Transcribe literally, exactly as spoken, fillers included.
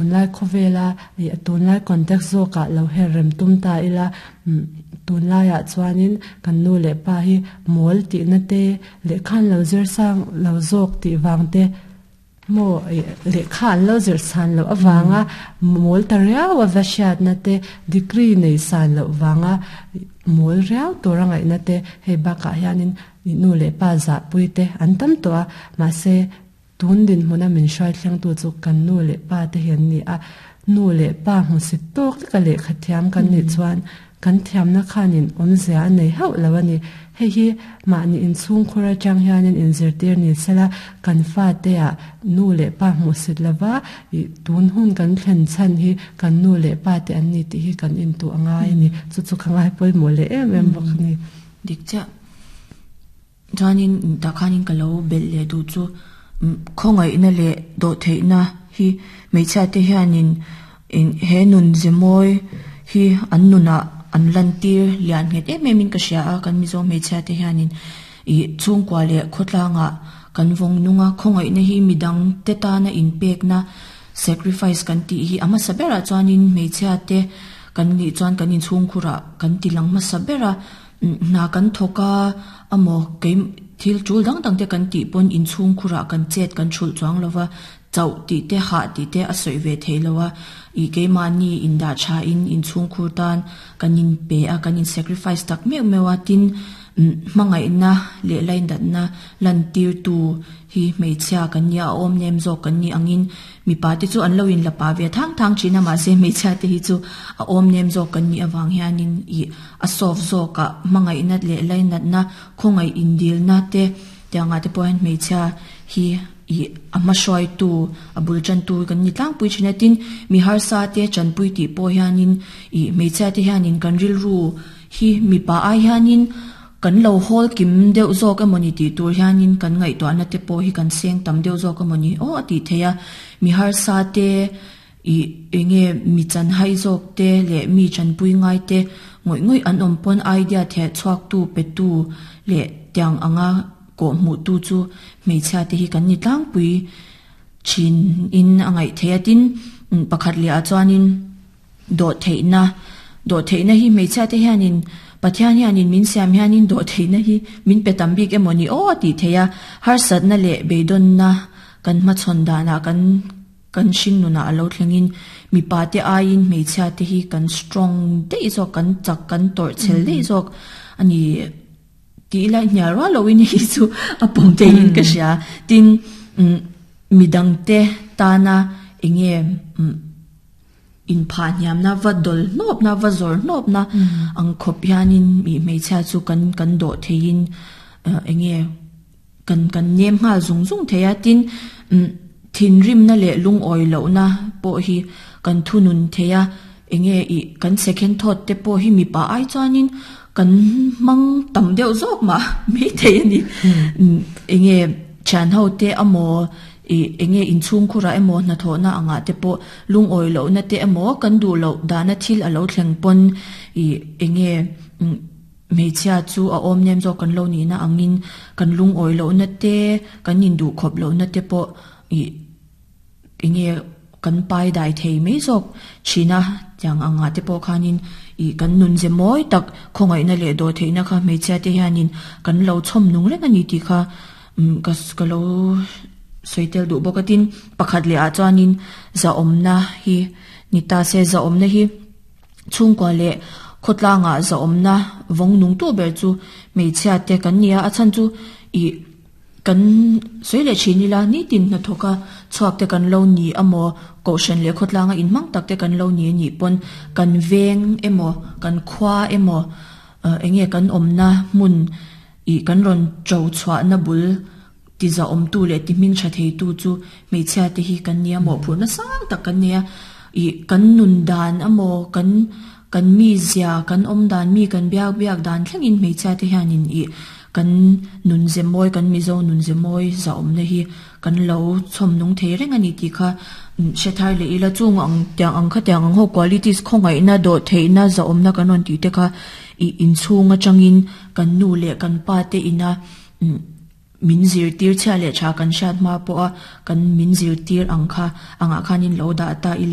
Tunlai khawvela ih tunlai context zawkah lo her rem tum ta ila umm tunlaiah chuanin kan nu leh pa hi mawl tihna te lehkha an lo zir sang lo zawk tih vang te maw ih lehkha an lo zir san loh avanga mawl ta riau a va hriatna te degree nei san loh vanga mawl riau tur a ngaihna te hei bakah hianin ih nu leh pa zahpui te an tam tawh a mahse tun dinhmuna min hruai thlengtu chu kan nu leh pa te hi an ni a nu leh pa hmusit tawk leka lehkha thiam kan nih chuan kan thiamna khanin awmzia a nei hauh lo a ni hei hi mahni inchhungkhur atang hianin inzirtir ni sela kan fate ah nu leh pa hmuhsit lova ih tun hun kan thlen chhan hi kan nu leh pa te an ni tih hi kan intuah ngai a ni chu chu ka ngai pawimawh leh em em bawk a ni. Dik chiah chuanin tah khanin ka lo belh leh duh chu khawngaihna leh dawh theihna hi hmeichhia te hianin he nun ze mawi hi an nunah an lantir lian nghet em em in ka hria a kan Mizo hmeichhia te hianin ih chhungkua leh khawtlangah kan vawng nung a khawngaihna hi midang te tana inpekna sacrifice kan tih hi a hmasa berah chuanin hmeichhia te kan nih chuan kan inchhungkhurah kan ti lang hmasa ber a hna kan thawk a amaw kei thil tul dang dang te kan tih pawn inchhungkhurah kan chet kan thulh chuang lova chauh tih te hah tih te a sawi ve thei lo a ih keimahni indah tha in inchhungkhur tan kan in pe a kan in sacrifice tak meuh meuh a tin hmangaihna leh laindatna lantir tu hi hmeichhia kan nia a awm nem zawk kan nih angin mipa te chu an lo in la pa ve thang thang thin a mahse hmeichhia te hi chu a awm nem zawk kan nih avang hianin ih a soft zawkah hmangaihna leh lainatna khawngaih indilna te tiangah te pawh hian hmeichhia hi ih a hmahruaitu a bul tantu kan ni tlangpui thin a tin mi harsa te tanpui tih pawh hianin ih hmeichhia te hianin kan rilru hi mipa ai hianin kan lo hawl kim deuh zawk emawni tih tur hianin kan ngaihtuahna te pawh hi kan seng tam deuh zawk emawni aw a tih theih a mi harsa te ih enge mi chanhai zawk te leh mi tanpui ngai te ngawih ngawih an awm pawn idea theh chhuak tu pe tu leh tiang anga kawh hmuh tu chu hmeichhia te hi kan ni tlangpui thin in a ngaih theih a tin pakhat leh ah chuanin dawh theihna dawh theihna hi hmeichhia te hianin Pathian hianin min siam hianin dawh theihna hi min pe tam bik emawni aw a tih theih a harsatna leh beidawnna kan hmachhawn danah kan kan hring nunah a lo thlengin mipa te aiin hmeichhia te hi kan strong daih zawk kan chak kan tawrh chhel daih zawk ani tih ila hnial rual loin hei chu a pawm theihin ka hria tin umm midang te tana enge umm inphah hniamna va dawl hnawpna va zawr hnawpna ang khawp hianin ih hmeichhia chu kan kan dawh theihin enge kan kan nem nghal zung zung thei a tin umm thinrimna leh lungawi lohna pawh hi kan thunun thei a enge ih kan second thought te pawh hi mipa ai chuanin kan hmang tam deuh zawk mah mai thei a ni enge thian ho te amaw ih enge inchhungkhurah emaw hnathawhna angah te pawh lungawi lohna te emaw kan duh loh dahna thil a lo thleng pawn ih enge hmeichhia chu a awm nem zawk kan lo nihna angin kan lungawi lohna te kan induh khawp lohna te pawh ih enge kan pai dai thei mai zawk thin a tiang angah te pawh khanin ih kan nun ze mawi tak khawngaihna leh dawh theihna kha hmeichhia te hianin kan lo chhawm nung reng a ni tih kha umm ka ka lo sawi tel duh bawk a tin pakhat leh ah chuanin zahawmna hi ni ta se zahawmna hi chhungkua leh khawtlangah zahawmna vawng nung tu ber chu hmeichhia te kan ni a a chhan chu ih kan sawi leh thin ila nitin hnathawk a chhuak te kan lo ni amaw kohhran leh khawtlanga inhmang tak te kan lo ni anih pawn kan veng emaw kan khua emaw enge kan awmna hmun ih kan rawn to chhuahna bul ti zahawm tu leh ti hming tha thei tu chu hmeichhia te hi kan nia mawhphurhna sang tak kan nei a ih kan nun dan amaw kan kan mi zia kan awm dan mi kan biak biak dan thlengin hmeichhia te hianin ih kan nun ze mawi kan Mizo nun ze mawi zahawmna hi kan lo chhawm nung thei reng a ni tih kha hre thar leh ila chung ang tiang ang kha tiang ang ho qualities khawngaihna dawh theihna zahawmna kan rawn tih te kha ih inchhung atangin kan nu leh kan pa te ina umm min zirtir chhia leh tha kan hriat hma pawh a kan min zirtir ang kha angah khanin lo dah ta ila.